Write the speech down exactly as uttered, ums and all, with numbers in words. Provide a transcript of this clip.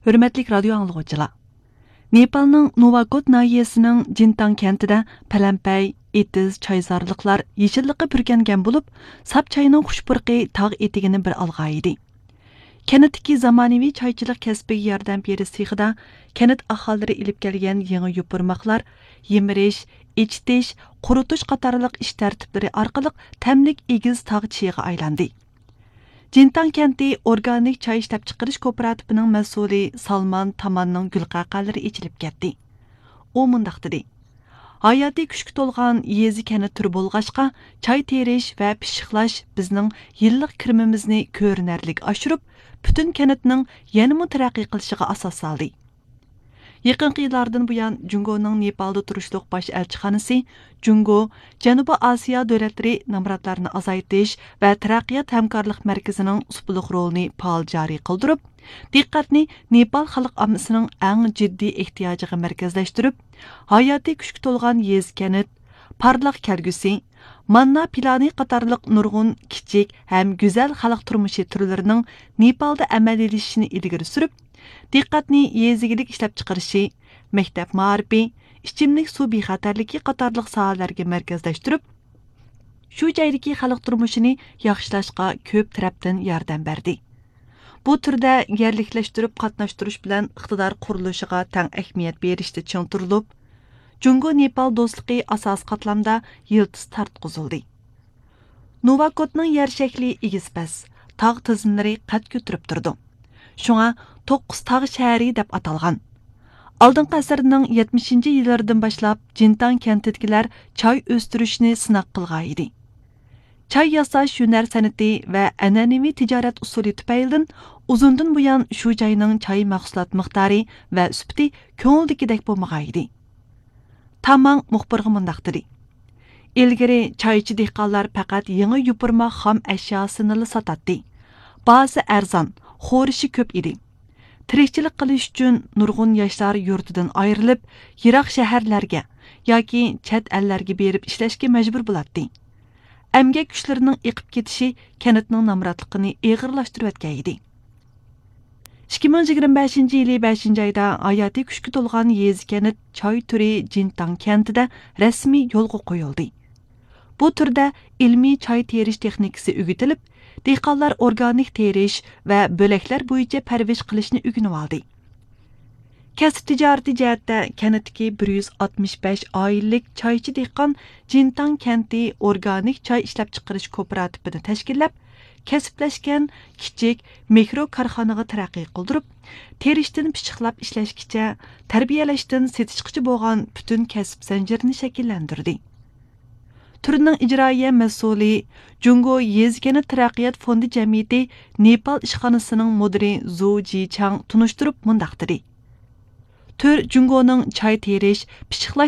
ھۆرمەتلىك رادىيو ئاڭلىغۇچىلار! نېپالنىڭ نوۋاكوت ناھىيەسىنىڭ جىنتاڭ كەنتىدە پەلەمپەي، ئېتىز، چايزارلىقلار يېشىللىققا پۈركەنگەن بولۇپ، ساپ چاينىڭ خۇش پۇرىقى تاغ ئېتىكىنى بىر ئالغانىدى. كەنتتىكى زامانىۋى چايچىلىق كەسپىگە ياردەم بېرىش سېخىدا كەنت ئاھالىلىرى ئېلىپ كەلگەن يېڭى يوپۇرماقلار يىمىرىش، ئېچىتىش، قۇرۇتۇش قاتارلىق ئىش تەرتىپلىرى ئارقىلىق تەملىك ئېگىز تاغ چىيىغا ئايلاندى. جىنتاڭ كەنتى ئورگانىك چاي ئىشلەپچىقىرىش كوپىراتىپىنىڭ مەسئۇلى سالمان تاماننىڭ گۈلقەقەلىرى ئېچىلىپ كەتتى. ئۇ مۇنداق دېدى: «ھاياتىي كۈچكە تولغان يېزا كەنت تۈرى بولغاچقا، چاي تېرىش ۋە پىششىقلاش بىزنىڭ يىللىق كىرىمىمىزنى كۆرۈنەرلىك ئاشۇرۇپ، پۈتۈن كەنتنىڭ يەنىمۇ تەرەققىي قىلىشىغا ئاساس سالدى.» يېقىنقى يىللاردىن بۇيان، جۇڭگونىڭ نېپالدا تۇرۇشلۇق باش ئەلچىخانىسى جۇڭگو، جەنۇبىي ئاسىيا دۆلەتلىرى نامراتلارنى ئازايتىش ۋە تەرەققىيات ھەمكارلىق مەركىزىنىڭ سۇپىلىق رولىنى پائال جارى قىلدۇرۇپ، دىققەتنى نېپال خەلق ئاممىسىنىڭ ئەڭ جىددىي ئېھتىياجىغا مەركەزلەشتۈرۈپ، ھاياتىي كۈچكە تولغان يېزا كەنت، پارلاق كەلگۈسى، ماننا پىلانى قاتارلىق نۇرغۇن كىچىك ھەم گۈزەل خەلق تۇرمۇشى تۈرلىرىنىڭ نېپالدا ئەمەلىيلىشىشىنى ئىلگىرى سۈرۈپ، دىققەتنى يېزا ئىگىلىك ئىشلەپچىقىرىشى، مەكتەپ مائارىپى، ئىچىملىك سۇ بىخەتەرلىكى قاتارلىق ساھەلەرگە مەركەزلەشتۈرۈپ، شۇ جايدىكى خەلق تۇرمۇشىنى ياخشىلاشقا كۆپ تەرەپتىن ياردەم بەردى. بۇ تۈردە يەرلىكلەشتۈرۈپ قاتناشتۇرۇش بىلەن ئىقتىدار قۇرۇلۇشىغا تەڭ ئەھمىيەت بېرىشتە چىڭ تۇرۇلۇپ، جۇڭگو نېپال دوستلۇقى ئاساسىي قاتلامدا يىلتىز تارتقۇزۇلدى. نوۋاكوتنىڭ يەر شەكلى ئېگىز پەس، تاغ تىزمىلىرى قەد كۆتۈرۈپ تۇرىدۇ. شۇڭا توققۇز تاغ شەھىرى دەپ ئاتالغان. ئالدىنقى ئەسىرنىڭ يەتمىشىنچى يىللىرىدىن باشلاپ جىنتاڭ كەنتىدىكىلەر چاي ئۆستۈرۈشنى سىناق قىلغانىدى. چاي ياساش ھۈنەر سەنئىتى ۋە ئەنئەنىۋى تىجارەت ئۇسۇلى تۈپەيلىدىن ئۇزۇندىن بۇيان شۇ جاينىڭ چاي مەھسۇلات مىقدارى ۋە سۈپىتى كۆڭۈلدىكىدەك بولمىغانىدى. تاماڭ مۇخبىرغا مۇنداق دېدى: «ئىلگىرى چايچى دېھقانلار پەقەت يېڭى يوپۇرماق خام ئەشياسىنىلا ساتاتتى. باھاسى ئەرزان، خورىشى كۆپ ئىدى. تىرىكچىلىك قىلىش ئۈچۈن نۇرغۇن ياشلار يۇرتىدىن ئايرىلىپ، يىراق شەھەرلەرگە ياكى چەت ئەللەرگە بېرىپ ئىشلەشكە مەجبۇر بولاتتى. ئەمگەك كۈچلىرىنىڭ ئېقىپ كېتىشى كەنتنىڭ نامراتلىقىنى ئېغىرلاشتۇرۇۋەتكەن ئىدى.» ئىككى مىڭ يىگىرمە بەشىنچى يىلى بەشىنچى ئايدا ھاياتىي كۈچكە تولغان يېزا كەنت چاي تۈرى جىنتاڭ كەنتىدە رەسمىي يولغا قويۇلدى. بۇ تۈردە ئىلمىي چاي تېرىش تېخنىكىسى ئۆگىتىلىپ، دېھقانلار ئورگانىك تېرىش ۋە بۆلەكلەر بويىچە پەرۋىش قىلىشنى ئۆگىنىۋالدى. كەسىپ تىجارىتى جەھەتتە كەنتتىكى بىر يۈز ئاتمىش بەش ئائىلىلىك چايچى دېھقان جىنتاڭ كەنتى ئورگانىك چاي ئىشلەپچىقىرىش كوپىراتىپىنى تەشكىللەپ، كەسىپلەشكەن كىچىك مىكرو كارخانىغا تەرەققىي قىلدۇرۇپ، تېرىشتىن پىششىقلاپ ئىشلەشكىچە، تەربىيەلەشتىن سېتىشقىچە بولغان پۈتۈن كەسىپ زەنجىرىنى شەكىللەندۈردى. تۈرنىڭ ئىجرائىيە مەسئۇلى، جۇڭگو يېزا كەنت تەرەققىيات فوندى جەمئىيىتى نېپال ئىشخانىسىنىڭ مۇدىرى زۇ جىچاڭ تونۇشتۇرۇپ مۇنداق دېدى: «تۈر جۇڭگونىڭ چاي تېرىش، پىششىقلاش